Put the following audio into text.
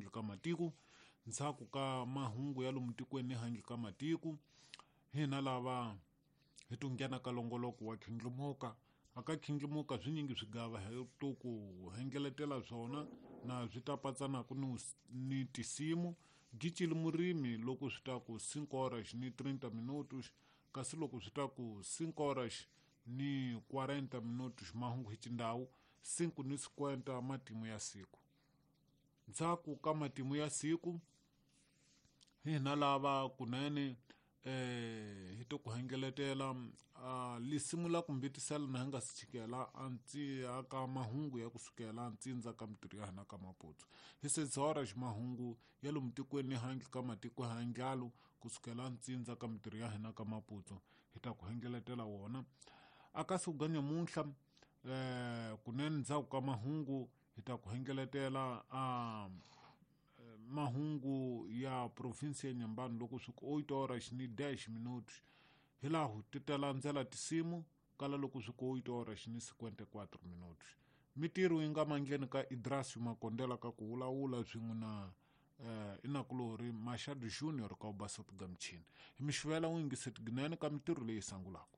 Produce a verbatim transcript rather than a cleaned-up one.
handle ka matiko. Ndzhaku ka mahungu ya lomu tikweni ni handle ka matiko, hina lava hi to nghena ka longoloko wa khindlumuka. Aka khindlumuka swinyingi swigava hi to ku hengeletela swona na swi ta patsanaka ni ni tisimu. Gicile murimi loko swi ta ku cinco horas ni treinta minutos, kasi loko swi ta ku cinco horas ni quarenta minutos mahungu hi xindhawu, cinco ni cinquenta matimu ya siku. Ndzhaku ka matimu ya siku hina lava kunene eh hi to ku hengeletela lisimu la ku mbitisela na hi nga si chikela antsi aka mahungu ya kusukela ntsindza ka mitirho ya hina ka Maputo. Hi seis horas mahungu ya lomu tikweni ni handle ka matiko ya ndlalo kusukela ntsindza ka mitirho ya hina ka Maputo hi ta ku hengeletela wona. Aka siku ga nyamuntlha eh kunene ndzhaku ka mahungu hi ta ku hengeletela a mahungu ya province ya Nyambani loko swi ku oito horas ni dez minutos. Hi laha ti ta landzela tisimu kala loko swi ku oito horas ni cinquenta e quatro minutos. Mitirho yi nga mandleni ka Idrasio Makondela ka ku vulavula swin'we na eh inakulori Machado Junior ka u basa tiga michini. Hi mixivela wu yingiseti ginene ka mitirho leyi sangulaka.